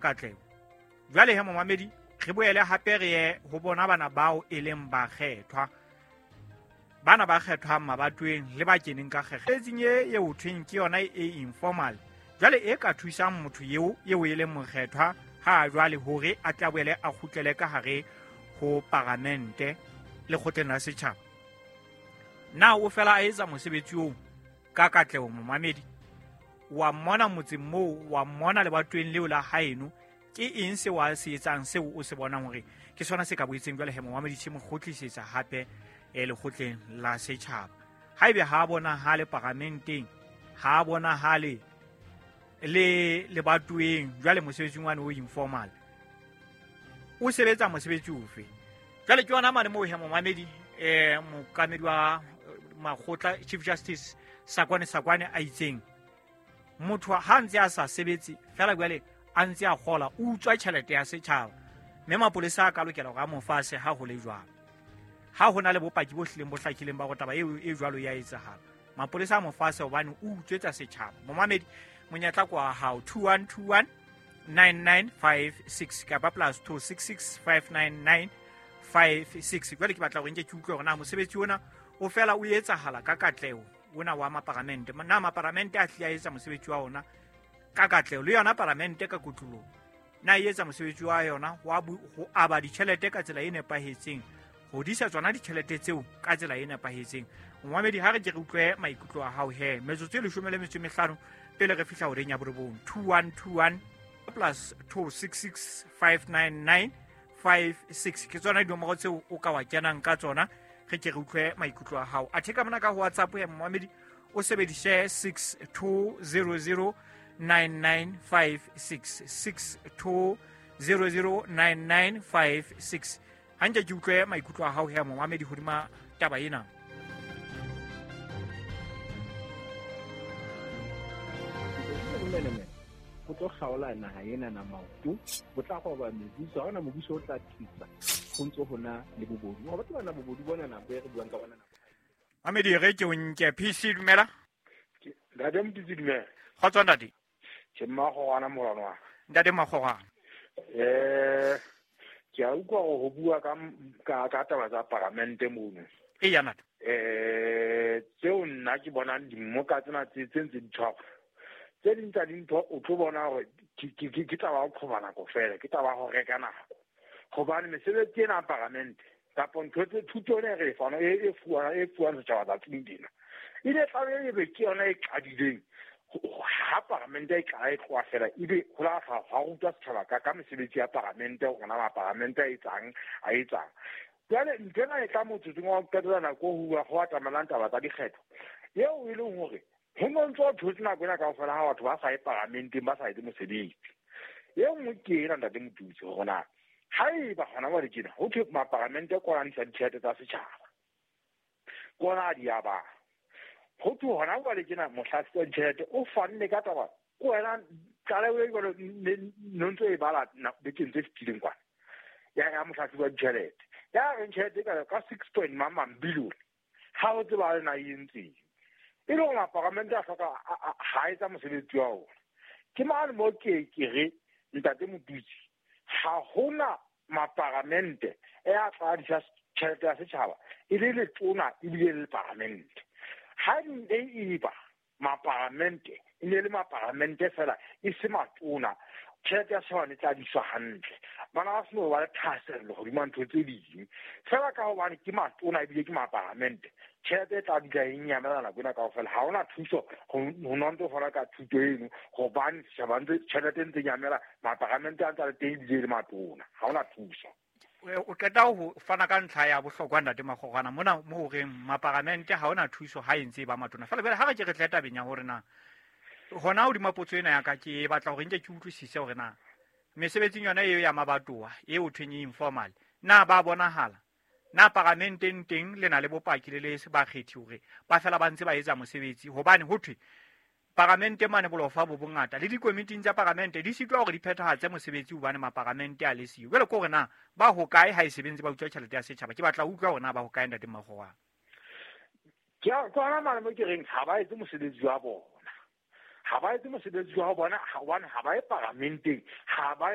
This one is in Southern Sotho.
Katleho. Jwale he momamedi, re boele hape re ye ho bona bana bao e leng bakgethwa, bana ba kgethwang mabatoweng le ba keneng ka kgekge etseng e eo thweng ke yona e informal, jwale e ka thusang motho eo eo e leng mokgethwa ha jwale hore a tla boele a kgutlele ka hare ho paramente lekgotleng la setjhaba. Na o fela a etsa mosebetsi oo ka katleho? Momamedi, wa mmona motseng moo, wa mmona lebatoweng leo la haeno, ke eng seo a se etsang seo o se bonang hore ke sona se ka boetseng jwale he momamedi se mo kgutlisetsa hape lekgotleng la setjhaba? Haebe ha a bonahale paramenteng, ha a bonahale le lebatoweng, jwale mosebetsing wane o informal o sebetsa mosebetsi ofe? Jwale ke yona mane moo he momamedi, mookamedi wa makgotla Chief Justice Sakwane Sakwane a itseng motho ha ntse a sa sebetse fela jwale a ntse a kgola, o utswa tjhelete ya setjhaba, mme mapolesa a ka lokela hore a mo fase ha ho le jwalo. Ha ho na le bopaki bo hlileng bo hlakileng ba hore taba eo e jwalo ya etsahala, mapolesa a mo fase hobane o utswetsa setjhaba. Momamedi, monyetla ke wa hao, 2121 9956 kapa +266 59956. Jwale ke batla hore nke ke utlwe hore na mosebetsi ona o fela o etsahala ka katleho, ona wa maparamente. Na maparamente a hlile a etsa mosebetsi wa ona ka katleho? Le yona paramente ka kotloloho, na e etsa mosebetsi wa yona wa ho aba ditjhelete ka tsela e nepahetseng, ho disa tsona ditjhelete tseo ka tsela e nepahetseng? Momamedi, ha re ke re utlwe maikutlo a hao he, metsotso e 15 pele re fihla horeng ya 9. 2121 +266 59956 ke tsona dinomoro tseo o ka wa kenang ka tsona. Re ke re utlwe maikutlo a hao. Athe ka mona ka ho WhatsApp ya momamedi, o sebedise 6200 9956, 6200 9956. Hanke ke utlwe maikutlo a hao he momamedi hodima taba ena. Menemene go tlo kgaola naha ena na maoto, bo tla goba mebuso. Ha hona mobuso o tla thusa go ntse ho na le bobodu, wa batho bana, bobodu bona nako e re buang ka bona nako. Mamedi, re ke o nke. PC, dumela. Ntate Motitsi, dumela. Kgotso, ntate. Ke Mmagogwana, morano wa Ntate Magogwana. Ke a utlwa gore go bua ka taba tsa paramente mono. E ya, ntate. Tseo nna ke bonang dimmoka tsena tse ntse di tshwarwa, tse ding tsa dintho o tlo bona gore ke taba ya go qhoba nako fela, ke taba ya go reka nako, gobane mesebetsi ena ya paramente kapo ntho tse thuto ena e re e fana e fuwang setjhaba tsatsing dina e ne tlabe e be ke yona e qadileng ha paramente e qala e tloha fela, ebe ho la ga rutwa setjhaba ka mesebetsi ya paramente, hore na maparamente a etsang. Jwale ntho ena e tla motsotsong wa ho qetela nako ho bua go atamelang taba tsa dikgetho, eo e leng hore ho no ntso o thotse nako ena kaofela ha batho ba sa ye paramenteng, ba sa etse mosebetsi. E nngwe ke ena, ntate Motutsi, hore na ha eba hona jwale tjena ho thwe maparamente kolanisa ditjhelete tsa setjhaba, kona a di abang, ho thwe hona jwale tjena mohlahisi wa ditjhelete o fanne ka taba ko wena tlaleho e jwalo no ntso e bala bekeng tse fetileng kwana ya mohlahisi wa ditjhelete ya reng tjhelete e ka six point mang mang billion, ha o tseba le na e entseng, e le hore maparamente a hloka ha etsa mosebetsi wa ona. Ke mane mo ke re, ntate Motutsi, ha hona maparamente e a tla disa tjhelete ya setjhaba e le letona ebile le paramente. Ha ne e ba maparamente, e ne le maparamente fela e se matona, tjhelete ya setjhaba ne tla diswa hantle, bana ba seno ba le thahasello hodima ntho tse ding fela. Ka hobane ke matona ebile ke maparamente, tjhelete e tla dula e nyamela nako ena kaofela. Ha hona thuso ho nontse fana ka thuto eno, hobane setjhaba ntse tjhelete e ntse nyamela, maparamente a ntse a le teng ebile e le matona, ha hona thuso. O qeta ho fana ka ntlha ya bohlokwa, ntate Magogwana, mona mo horeng maparamente ha hona thuso ha e ntse e ba matona fela. Jwale ha re ke re tle tabeng ya hore na hona hodima potso ena ya ka, ke batla hore nke ke utlwisise hore na mesebetsing yona eo ya mabatowa eo thweng e informal, na ba bonahala na paramenteng teng? Le na le bopaki le le bakgethi hore ba fela ba ntse ba etsa mosebetsi? Hobane ho thwe paramente mane bolofa bo bongata, le dikomiting tsa paramente di sitwa hore di phethahatse mosebetsi hobane maparamente a le siyo. Jwale ke hore na ba hokae ha e sebentse ba utswa tjhelete ya setjhaba? Ke batla ho utlwa hore na ba hokae, ntate Magogwana. Ke hona mane mo ke reng ha ba etse mosebetsi wa bona, ha ba etse mosebetsi wa bona hobane ha ba ye paramenteng, ha ba